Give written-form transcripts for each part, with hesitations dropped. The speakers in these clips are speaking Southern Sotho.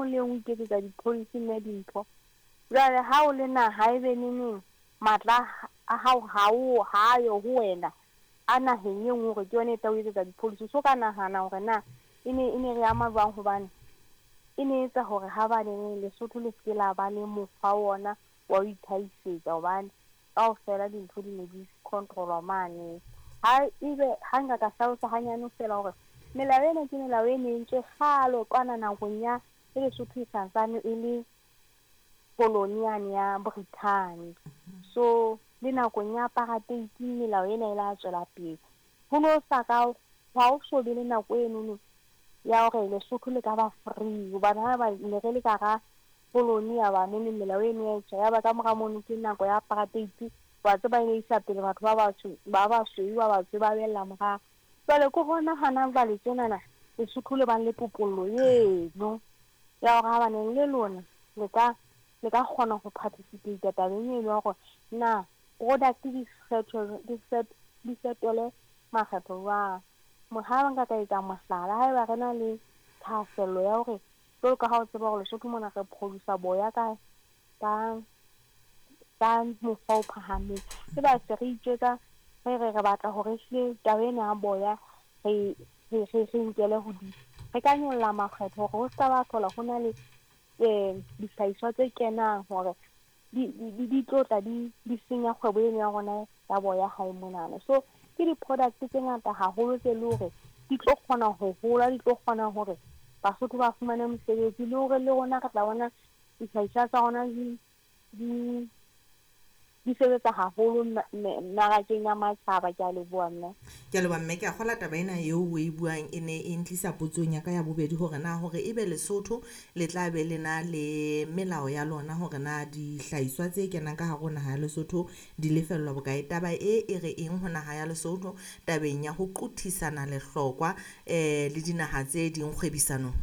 nngwe le e nngwe e iketsetsa di-policy mme dintho. Jwale ha o le naha e be neneng matla a hao ha o ha a yo ho wena a naheng e nngwe hore ke yona e tla o etsetsa di-policy. O so ka nahana hore na e ne e ne re ama jwang hobane e ne etsa hore ha ba neneng Lesotho le se ke la ba le mokgwa wona wa ho itlhahisetsa hobane kaofela dintho di ne di control-wa mane. Ha ebe ha nka ka hlalosa hanyane feela hore melao ena ke melao e ne entswe kgale kwana nakong ya e Lesotho e santsane e le koloni yane ya Brithani. So le nakong ya apartheid melao ena e la tswela pele. Ho no sa ka ha o so be le nako enono ya hore Lesotho le ka ba free hobane ha ba ne re le ka hara koloni ya ba nene melao eno ya etswa. Ya ba ka mora mono ke nako ya apartheid, wa tseba e ne isa pele batho ba batsho ba basweu ba batsho ba bella morao. Jwale ke hona hana jwale tjenana Lesotho le bang le topollo eno ya hore ha baneng le lona le ka le ka kgona ho participate tabeng eno ya hore na product di fetolwe di fetole makgetho jwang. Ha nka ka etsa mohlala, haeba re na le thahasello ya hore jwalo ka ha o tseba hore Lesotho mona re produce-a boya ka ka ka mokgwa o phahameng. E ba se re itjwetsa re re re batla hore ehlile taba ena ya boya re re re re nkele hodimo. Re ka nyolla makgetho hore ho ska ba hlola ho na le dihlahiswa tse kenang hore di di di tlo tla di di senya kgwebo eno ya rona ya boya hae monana. So ke di-product tse ngata haholo tse le hore di tlo kgona ho hola, di tlo kgona hore Basotho ba fumane mosebetsi le hore le rona re tla bona dihlahiswa tsa rona di di di sebetsa haholo mmarakeng ya matjhaba. Ke a leboha mme. Ke a leboha mme, ke a kgola taba ena eo o e buang e ne e ntlisa potsong ya ka ya bobedi hore na hore ebe Lesotho le tla be le na le melao ya lona hore na dihlahiswa tse kenang ka hare ho naha ya Lesotho di lefellwa bokae. Taba e e re eng ho naha ya Lesotho tabeng ya ho qothisana lehlokwa le dinaha tse ding kgwebisanong?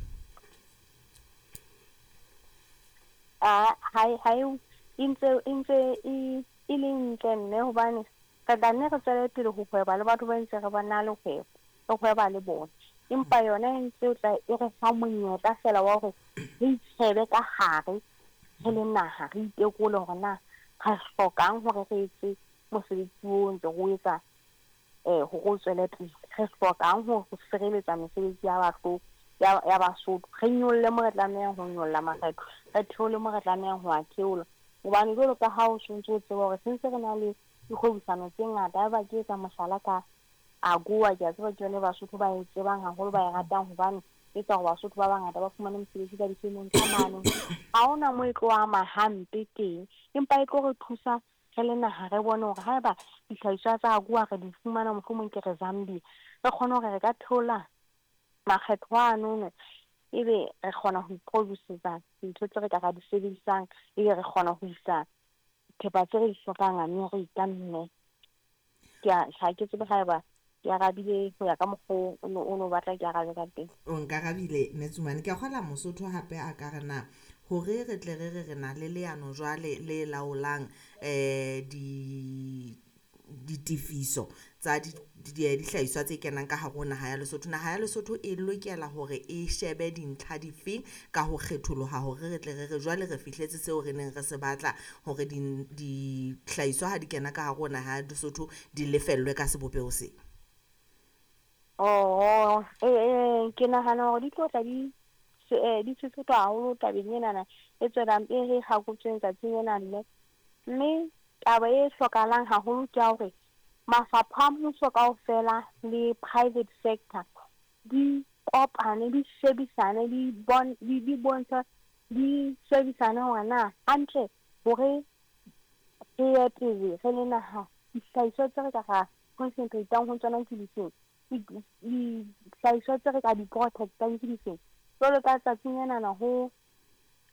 Ha ha e e ntse e ntse e e le ntle mme hobane re tla nne re tswele pele ho hweba le batho ba ntse re ba na le kgwebo, re hweba le bona. Empa yona e ntse tla e re fa monyetla feela wa hore re itjhebe ka hare re le naha, re itekole hore na re hlokang hore re etse mosebetsi o ntse re o etsa hore o tswele pele. Re hlokang ho sireletsa mesebetsi ya batho ya ya Basotho. Re nyolle mo re tlamehang ho nyolla makgetho, re theole mo re tlamehang ho a theola. Hobane jwalo ka ha o sontso o tseba hore sentse re na le dikgwebisano tse ngata. Haeba ke etsa mohlala ka AGOA, ke a tseba ke yone Basotho ba e tsebang haholo, ba e ratang hobane e etsa hore Basotho ba bangata ba fumane mosebetsi ka difemeng tsa mane. Ha hona moo e tlo ama hampe teng, empa e tlo re thusa re le naha re bone hore haeba dihlahiswa tsa AGOA re di fumana mohlomong ke re Zambia, re kgone hore re ka theola makgetho anono ebe re kgona ho iproduce-etsa dintho tse re ka ra di sebedisang, ebe re kgona ho isa thepa tse re di hlokang America mme. Ke a ha ke tsebe haeba ke arabile ho ya ka mokgo o no batla ke arabe ka teng. O nkarabile Mme Tsumane. Ke a kgola Mosotho hape a ka re na hore re tle re re re na le leano jwale le laolang di ditefiso tsa dihlahiswa tse kenang ka hare ho naha ya Lesotho. Naha ya Lesotho e lokela hore e shebe dintlha difeng ka ho kgetholoha hore re tle re re jwale re fihletse seo re neng re se batla hore dihlahiswa ha di kena ka hare ho naha ya Lesotho di lefellwe ka sebopeho se. Oh, ke nahana hore di tlo tla di di sesotho haholo tabeng enana e tswelang e re hakotsweng tsatsing lena mme. Mme taba e hlokahalang haholo ke ya hore mafapha a mmuso kaofela le private sector di kopane, di shebisane, di bon di di bontsha di shebisane hore na hantle hore re ye pele re le naha dihlahiswa tse re ka ra concentrate-ang ho tsona ke difeng, dihlahiswa tse re ka di protect-ang ke difeng. Jwalo ka tsatsing lenana ho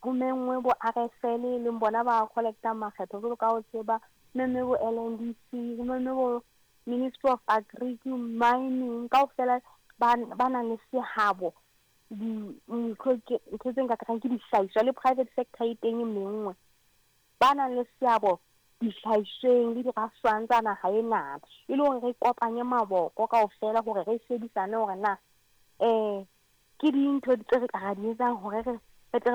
ho menngwe bo RFL e leng bona ba collect-ang makgetho jwalo ka o tseba, memme bo LNDC, ho memme bo Ministry of Agric, Mining, kaofela ba ba nang le sehabo di ntho ke ntho tse nka reng ke dihlahiswa le private sector e teng e menngwe. Ba nang le seabo dihlahisweng le dirafshwang tsa naha ena, e le hore re kopanye maboko kaofela hore re shebisane hore na ke dintho tse re ka ra di etsang hore re